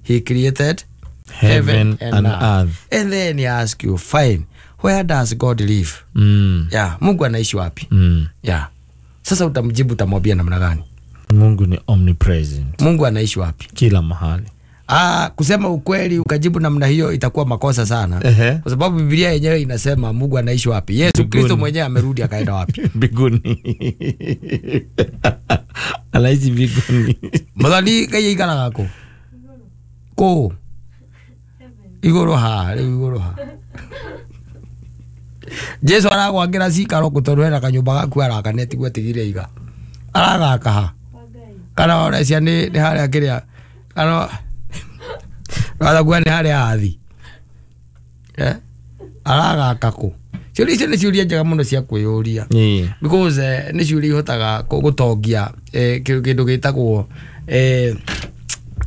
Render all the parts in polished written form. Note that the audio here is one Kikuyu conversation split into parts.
He created heaven and earth. And then he ask you, fine, where does God live? Yeah, Mungu anaishi wapi? Yeah. Sasa utamjibu, utamwambia namna gani? Mungu ni omnipresent. Mungu anaishi wapi? Kila mahali. Ah, kusema ukweli ukajibu namna hiyo itakuwa makosa sana. Kwa sababu Biblia yenyewe inasema Mungu anaishi wapi? Yesu Kristo mwenyewe amerudi akaenda wapi? Mbinguni. Anaishi mbinguni. Muthoni Ngai aikaraga kũ? Kũ? Igũrũ haha, rĩu igũrũ haha. Jesu aragwakĩra cikaro kũ tondũ hena kanyũmba gaku araka tiguo atigire iga. Aragaka ha? Kana ũrecia nĩ harĩa kĩrĩa kana watha nĩ harĩa athi. Aragaka kũ? Ciũria icio nĩ ciũria njega mũno cia kwĩyũria. Because nĩ ciũria ihotaga gũtongia kĩndũ gĩtagwo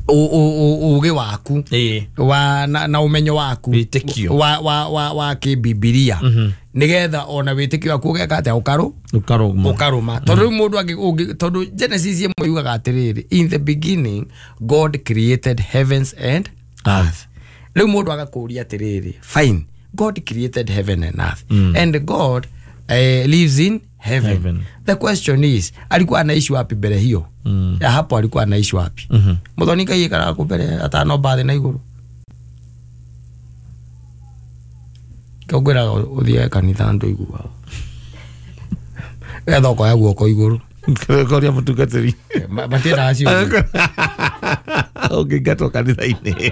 ũũgĩ waku wa na ũmenyo waku wa kĩbibilia, nĩgetha ona wĩtĩkio waku ũgeka atĩa? Ũkarũma. Tondũ rĩu mũndũ tondũ Genesis ĩmwe yugaga atĩrĩrĩ, in the beginning God created heavens and earth. Rĩu mũndũ agakũria atĩrĩrĩ, fine, God created heaven and earth, and God lives in heaven. The question is, alikuwa anaishi wapi mbere hiyo? Ya hapo alikuwa anaishi wapi? Muthoni Ngai aikaraga kũ mbere atanomba thĩ na igũrũ? Ngwĩraga ũthiage kanitha ndũiguaga. Getha ũkoya guoko igũrũ. Koria mũtungatĩri. Matiendaga ciũria. Ũngĩingatwo kanitha-inĩ.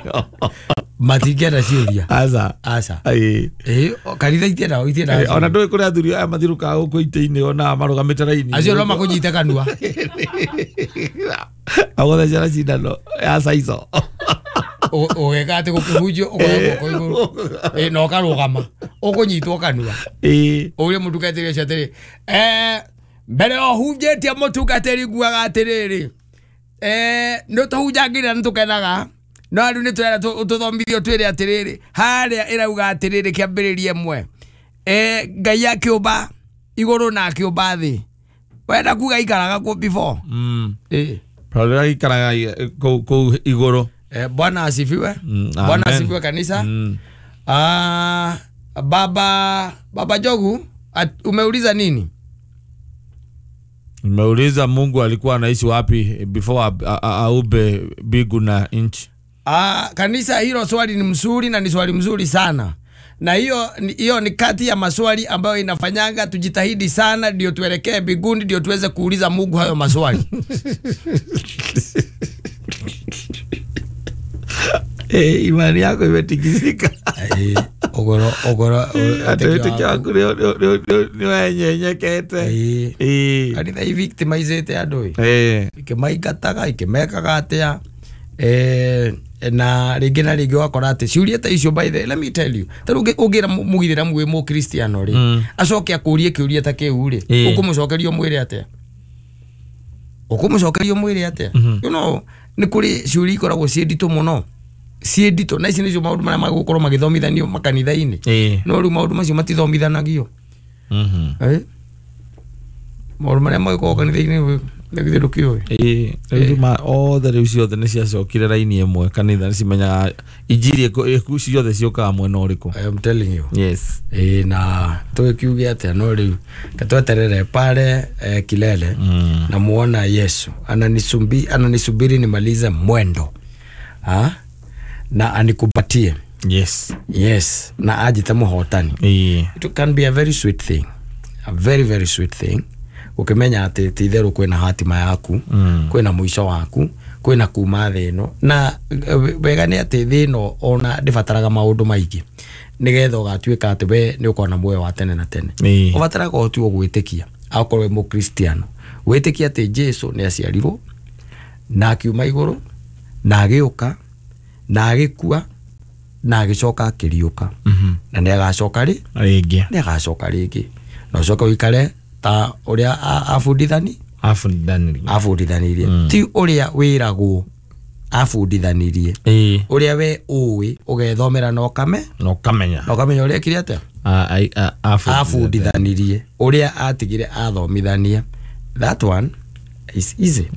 Matingĩenda ciũria. Aca. Aca. Kanitha itiendaga. Ona ndũĩ kũrĩ athuri aya mathirũkaga gũkũ itĩ-inĩ ona marũgamĩte raini. Acio no makũnyite kanua. Agũthecera cindano ya caico. Ũgeka atĩ gũkĩhunjio ũkoya guoko igũrũ. Na ũkarũgama. Ũkũnyitwo kanua. Ũrie mũtungatĩri ũcio atĩrĩ, mbere ũhunjĩtie mũtungatĩri nguaga atĩrĩrĩ, nĩ tũhunjangĩra nĩ tũkenaga, no rĩu nĩ tũrenda tũthomithio twĩre atĩrĩrĩ, harĩa ĩrauga atĩrĩrĩ kĩambĩrĩria ĩmwe, Ngai akĩũmba igũrũ na akĩũmba thĩ. Wenda kuga ikaraga kũ before? Rora ikaraga kũu igũrũ. Bwana asifiwe. Bwana asifiwe kanisa. Baba Jogu, umeuliza nini? Nimeuliza Mungu alikuwa anaishi wapi before aube mbingu na nchi. Kanisa, hilo swali ni mzuri na ni swali mzuri sana. Na hiyo ni kati ya maswali ambayo inafanyanga tujitahidi sana ndio tuelekee mbinguni, ndio tuweze kuuliza Mungu hayo maswali. Imani yako imetikisika. Ogoro wĩtĩkio waku nĩ wenyenyekete. Kanitha ivictimizĩte andũ ikĩmaingataga ikĩmekaga atĩa, na rĩngĩ na rĩngĩ ũgakora atĩ ciũria ta icio, by the let me tell you, ta rĩu ũngĩra mũgithĩramu wĩ mũkristiano rĩ, acoke akũrie kĩũria ta kĩu rĩ, ũkũmũcokeria ũmwĩre atĩa? Ũkũmũcokeria ũmwĩre atĩa? You know, nĩ kũrĩ ciũria ikoragwo ciĩ nditũ mũno, ciĩ nditũ, na ici nĩcio maũndũ marĩa magũkorwo magĩthomithanio makanitha-inĩ. No rĩu maũndũ macio matithomithanagio. Maũndũ marĩa magĩkoragwo kanitha-inĩ nĩ ndũkĩũĩ. Rĩu othe rĩu ciothe nĩ ciacokire raini ĩmwe kanitha, nĩ cimenyaga injiri ciothe ciũkaga mwena ũrĩkũ. I am telling you. Yes. Na tũgĩkiuge atĩa, no rĩu katweterere pale kilele na muona Yesu ananisubiri nimalize mwendo. Na anikupatie. Yes. Yes, na ajite muhotani. It can be a very sweet thing. A very very sweet thing. Ukimenya ati ti itheru kwina hatima yaku, kwina muico waku, kwina kuma thĩ ĩno, na wega nĩ atĩ thĩ ĩno ona ndĩbataraga maũndũ maingĩ nĩgetha ũgatuĩka atĩ we nĩ ũkona muoyo wa tene na tene. Ũbataraga o tu gwĩtĩkia, akorwo wĩ mũkristiano, wĩtĩkie atĩ Jesu nĩ aciarirwo na akiuma igũrũ na agĩũka na agĩkua na agĩcoka akĩriũka, na nĩ agacoka rĩngĩ, nĩ agacoka rĩngĩ, na ũcoke ũikare ta ũrĩa abundithanirie, ti ũrĩa wĩragwo abundithanirie, ũrĩa we ũĩ ũgethomera na ũkame na ũkamenya ũrĩa ekire atĩa abundithanirie, ũrĩa atigire athomithania. That one is easy.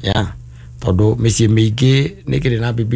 Yeah, tondũ mĩciĩ mĩingĩ nĩ kĩrĩ na Bibilia.